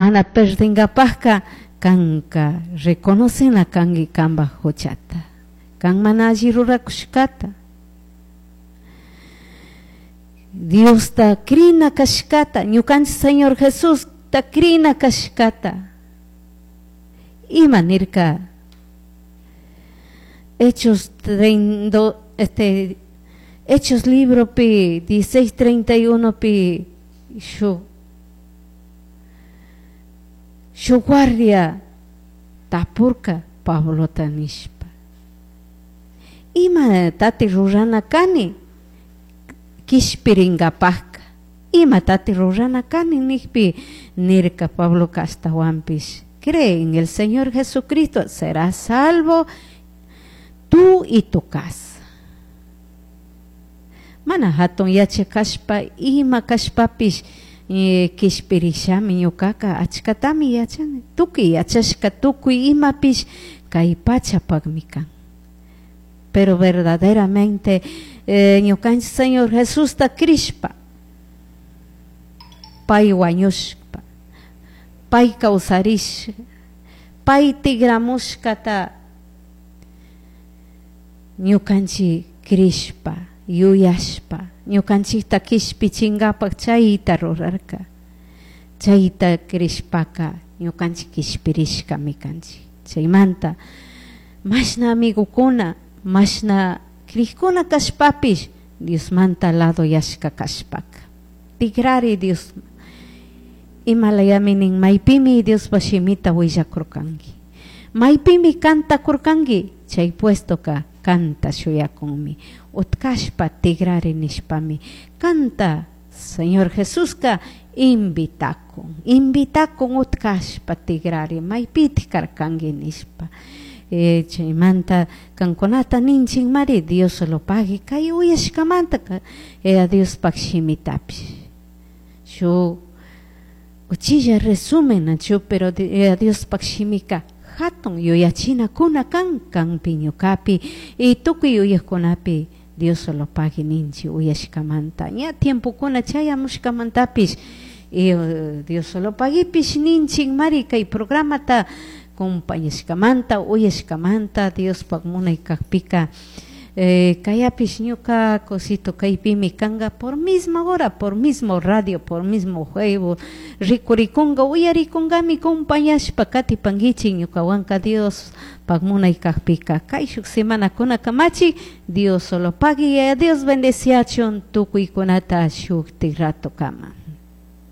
Mana perdingapajka kanka reconocena kanki kanpaj huchata. Kan mana alli rurakushkata. Diosta crina kashkata, ñukanchik Señor Jesusta crina kashkata. Ima nirka Hechos Hechos libropi 16:31 pi shu shu guardia tapurka Pablota nishpa. Ima tati rurana kani kishpiringapajka ima tati rurana kani nijpi nirka Pabloka ashtawanpish cree en el Señor Jesucristo serás salvo tú y tu casa. Mana hatun yachak kashpa ima kashpapish kishpirishami ñukaka achkatami yachani tukuy yachashka tukuy imapish kay pachapakmi kan. Pero verdaderamente ñukanchik Señor Jesusta crishpa pay wañushpa pay kawsarishka pay tigramushkata ñukanchik crishpa yuyashpa ñukanchikta kishpichinkapak chayta rurarka chayta crishpaka ñukanchik kishpirishkami kanchik chaymanta mashna amigokuna mashna crikuna kashpapish Diosmanta lado yashka kashpaka tigrari Dios imalayami nin maypimi Diospa shimita willakurkanki maypimi cantakurkanki chay puestoka kanta shuyakunmi utkashpa tigrari nishpami kanta Señor Jesuska invitakun invitakun utkashpa tigrari maypitik karkanki nishpa chaymanta kankunata ninchikmari Dios lo pague kay uyashkamanta Diospaj shimitapish shuk uchilla resumen nachu pero Diospaj shimika hatun yuyachinakuna kan kanpi ñukapi y tukuy yuyakkunapi Dios lo pague ninchik uyashkamanta ña tiempokuna chayamushkamantapish y Dios lo paguepish ninchikmari kay programata compañashkamanta uyashkamanta Diospaj munay kakpika kayapish ñuka cosito kaypimi kanka por misma hora por mismo radio por mismo Facebook rikurikunka uyarikunkami compañashpa katipankichik ñukawanka Diospaj munay kakpika kayshuk semanakuna kamachi Dios solo pague Dios bendeciachun tukuykunata shuktik rato kama.